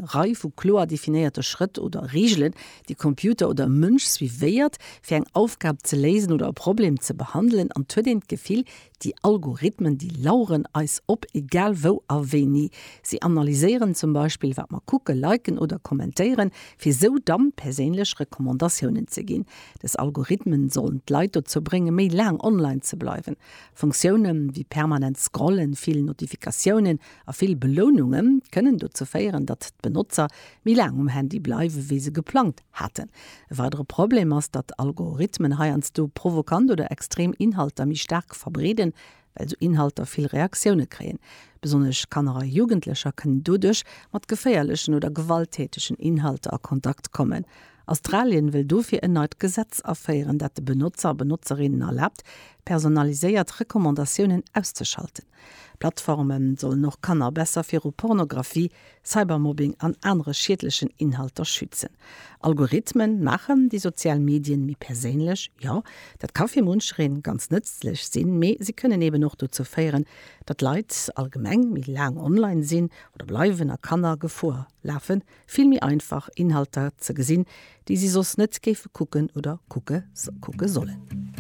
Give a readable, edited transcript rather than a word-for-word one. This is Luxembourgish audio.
eng Rei vu kloer definéierte Schrëtt oder Reegelen, déi Computer oder e Mënsch suivéiert, fir eng Aufgab ze léisen oder e Problem ze behandelen. An et huet een d'Gefill, déi Algorithmen, déi laueren eis op, egal wou a wéini. Si analyséieren zum Beispill, wat mer kucken, liken oder kommentéieren, fir sou dann perséinlech Recommandatiounen ze ginn. Dës Algorithmen sollen d'Leit dozou bréngen, méi laang online ze bleiwen. Funktioune wéi permanent Scrollen, vill Notifikatiounen a vill Beloununge kënnen dozou féieren, datt d'Benotzer méi laang um Handy bleiwe wéi se geplangt haten. E weidere Problem ass, datt Algorithmen heiansdo provokant oder extrem Inhalter méi staark verbreeden, well sou Inhalter vill Reaktioune kréien. Besonnesch Kanner a Jugendlecher kënnen doduerch mat geféierlechen oder gewalttätegen Inhalter a Kontakt kommen. Australien wëll dofir en neit Gesetz aféieren, dat de Benotzer a Benotzerinnen erlaabt, personaliséiert Recommandatiounen auszeschalten. Plattforme sollen och Kanner besser viru Pornografie, Cybermobbing an anere schiedlechen Inhalter schützen. Algorithmen maachen déi sozial Medien méi perséinlech. Jo, dat ka fir munchereen ganz nëtzlech sinn, mee si kënnen eben och dozou féieren, datt Leit allgemeng méi laang online sinn oder bleiwen a Kanner Gefor lafen, vill méi einfach Inhalter ze gesinn, déi si soss net géife kucken oder kucke sollen.